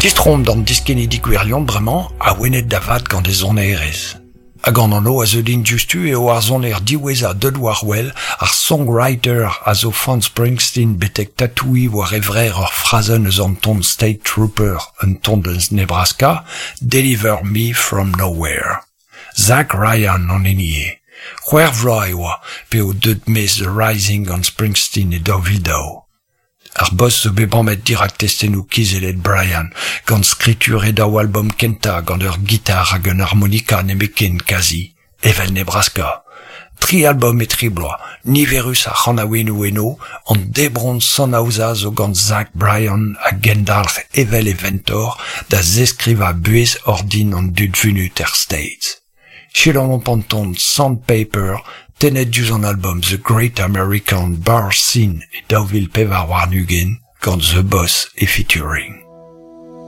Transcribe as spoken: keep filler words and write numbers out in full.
Distroomp d'an diskennidi gwirion bremañ, awenet da vat gant e sonerezh. Hag an anv a zeu din diouzhtu eo ar soner diwezhañ deut war wel, ar songwriter a zo fan Springsteen betek tatouiñ war e vrec'h ur frazenn eus an ton State Trooper, un ton eus Nebraska, Deliver Me From Nowhere. Zach Bryan an hini eo. C'hwec'h vloaz e oa p'eo deut maez The Rising gant Springsteen e daou vil daou. Ar boss zo bet bamet dirak testennoù kizellet Bryan, gant skritur e daou album kentañ gant ur gitar hag un harmonika nemetken kazi, evel Nebraska. Tri album e tri bloaz, niverus ar c'hanaouennoù eno, an debron sonaozañ zo gant Zach Bryan a gendalc'h evel e ventor da zeskrivañ buhez ordin an dud vunut er States. Selaouomp an ton Sandpaper tennet diouzh an album The Great American Bar Scene e daou vil pevar warn-ugent gant The Boss e featuring.